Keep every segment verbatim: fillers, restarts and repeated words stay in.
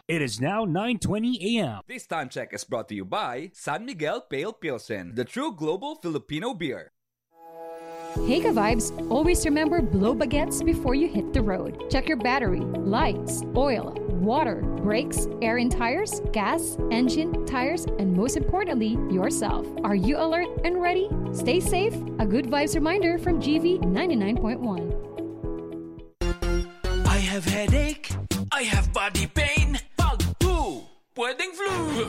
It is now nine twenty a m. This time check is brought to you by San Miguel Pale Pilsen, the true global Filipino beer. Hey, ka-vibes! Always remember, blow baguettes before you hit the road. Check your battery, lights, oil, water, brakes, air in tires, gas, engine, tires, and most importantly, yourself. Are you alert and ready? Stay safe. A good vibes reminder from G V ninety-nine point one. I have headache. I have body pain. Pag flu, pwedeng flu.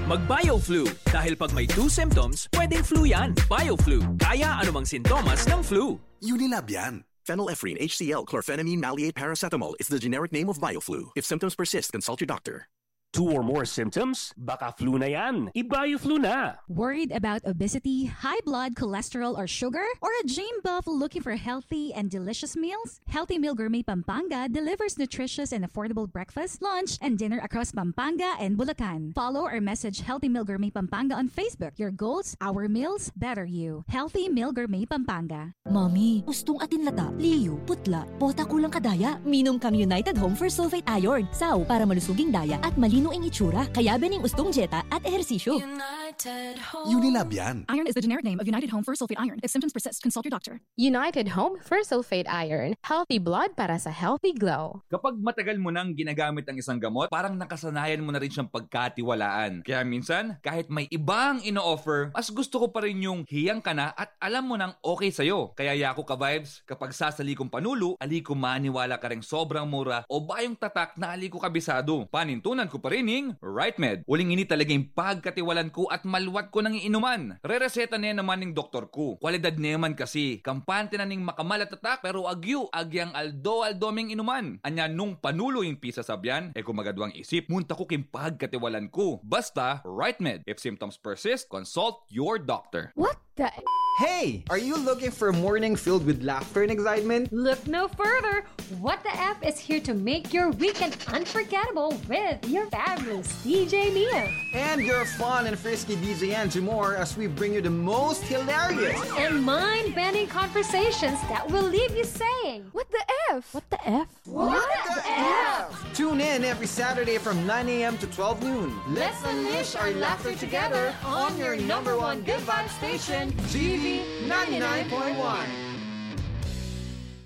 Mag-BioFlu. Dahil pag may two symptoms, pwedeng flu yan. BioFlu. Kaya anumang sintomas ng flu. Unilab yan. Phenylephrine H C L, chlorphenamine maleate paracetamol is the generic name of BioFlu. If symptoms persist, consult your doctor. Two or more symptoms? Baka flu na yan. I-BioFlu na. Worried about obesity, high blood, cholesterol, or sugar? Or a gym buff looking for healthy and delicious meals? Healthy Meal Gourmet Pampanga delivers nutritious and affordable breakfast, lunch, and dinner across Pampanga and Bulacan. Follow or message Healthy Meal Gourmet Pampanga on Facebook. Your goals, our meals, better you. Healthy Meal Gourmet Pampanga. Mami, ustung atin lata, liyu, putla, pota kulang kadaya. Minum kang United Home Fersulfate Iron, sau, para malusuging daya at malino ing itsura. Kaya bening ustung dieta at ehersisyo. United Home. Unilab yan. Iron is the generic name of United Home Fersulfate Iron. If symptoms persist, consult your doctor. United Home Fersulfate Iron. Healthy blood para sa healthy glow. Kapag matagal mo nang ginagamit ang isang gamot, parang nakasanayan mo na rin siyang pagkatiwalaan. Kaya minsan, kahit may ibang ino-offer, mas gusto ko pa rin yung hiyang ka na at alam mo nang okay sa'yo. Kaya yaku, ka-vibes, kapag sasali kung panulu, ali ku maniwala karing sobrang mura o bayung tatak na ali ku kabisadu. Panintunan ku pa rin ing Right Med. Uling ini talaga ing pagkatiwalan ku at malwat ku nang iinuman. Rereseta ne naman ning doktor ku. Kwalidad ne man kasi. Kampante na ning makamal a tatak, pero agyu, agyang aldo-aldo ming inuman. Anya nung panulu ing pisasabyan, e ku magadwang isip, munta ku king pagkatiwalan ku. Basta, Right Med. If symptoms persist, consult your doctor. What the Hey! Are you looking for a morning filled with laughter and excitement? Look no further. What the F is here to make your weekend unforgettable with your fabulous D J Mia. And your fun and frisky D J Angie Moore as we bring you the most hilarious and mind-bending conversations that will leave you saying, "What the F? What the F?" What the F? Tune in every Saturday from nine a m to twelve noon. Let's unleash our laughter together on your number one good vibe station, G V ninety-nine point one.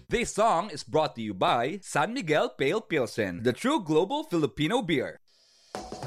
This song is brought to you by San Miguel Pale Pilsen, the true global Filipino beer.